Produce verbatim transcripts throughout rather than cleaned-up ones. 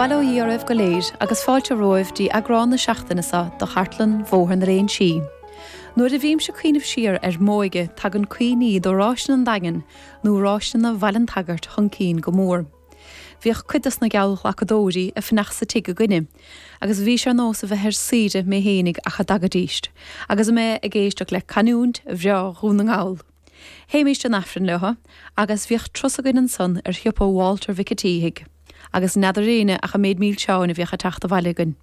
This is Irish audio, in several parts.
Bail ó Dhia oraibh go léir agus fáilte romhaibh dtí eagrán na seachtaine seo de chartlann Bhóthar na Léinsí. Nuair a bhímse ag cuimhneamh siar ar m'óige tagann cuimhní de Ráiseanna an Daingin nó Ráiseanna Bhaile an tSagairt chun cinn go mór. Bhíodh cuid dos na geallghlacadóirí ag fanacht sa tigh againne, agus bhí sé ar nós a bheith ar saoire mé fhéinig ach a dtagaidíst, agus mé ag éisteacht le canúint bhreá Dhún na nGall. Théimíst an Aifreann leo, agus bhíodh turas againn ansan ar shiopa Walter Mhic an tSíthigh, agus n'fheadar éinne ach an méid milseáin a bhíodh ag teacht abhaile againn.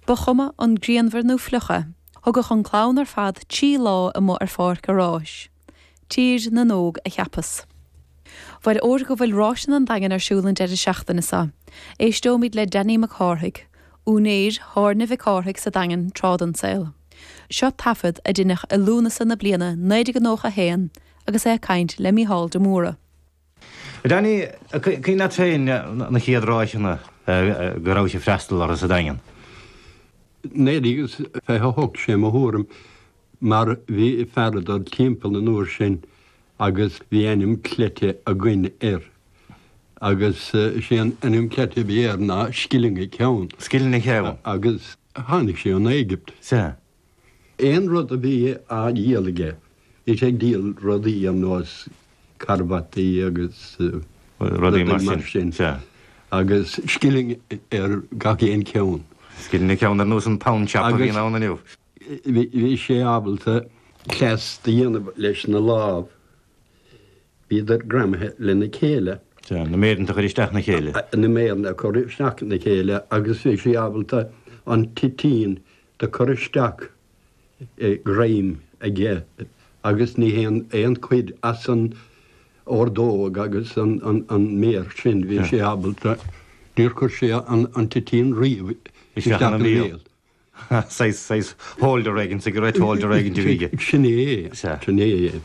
Ba chuma an grianmhar nó fliuch é, thugadh an clann ar fad trí lá amuigh ar pháirc an ráis. Tír na nÓg a cheapas. Bhuel óir go bhfuil Ráiseanna an Daingin ar siúl an deireadh seachtaine seo, éisteoimid le Danny Mac Cárthaigh, úinéir Thábhairne Mhic Cárthaigh sa Daingean tráth den saol. Seo taifead a deineadh i Lúnasa na bliana naoi déag nócha a haon agus é ag caint le Mícheál de Mórdha. Danny, cuimhin leat féin na chéad ráiseanna go raibh sibh ag freastal orthu sa Daingean? Naoi déag is fiche a hocht sé mo thuairim mar bhí fear ag dul timpeall an uair sin agus bhí ainm cleite againn air agus sé an ainm cleite a bhí air ná Scilling an Ceann. Scilling an Ceann. Agus tháinig sé ón Éigipt. Sea. Aon rud a bhí á dhíol aige, bhí sé ag díol rudaí ar nós carbataí agus rudaí mar sin. Sea. Agus scilling ar gach aon cheann. Scilling an ceann ar nós an pound shop a bhíonn ann inniu. Bhí sé ábalta cleas do dhéanamh leis na lámh. Bhíodar greamaithe lena chéile. Sea, na méireanta a chur isteach ina chéile. Na méireanna a chur isteach ina chéile agus bhí sé ábalta an toitín do chur isteach i greim aige agus ní haon aon chuid as an ordóg agus an an méar sin, bhí sé ábalta, níor chuir sé an toitín riamh isteach ina bhéal. Saghas, saghas holder éigin, cigarette holder éigin a bhí aige. Sin é, sin é.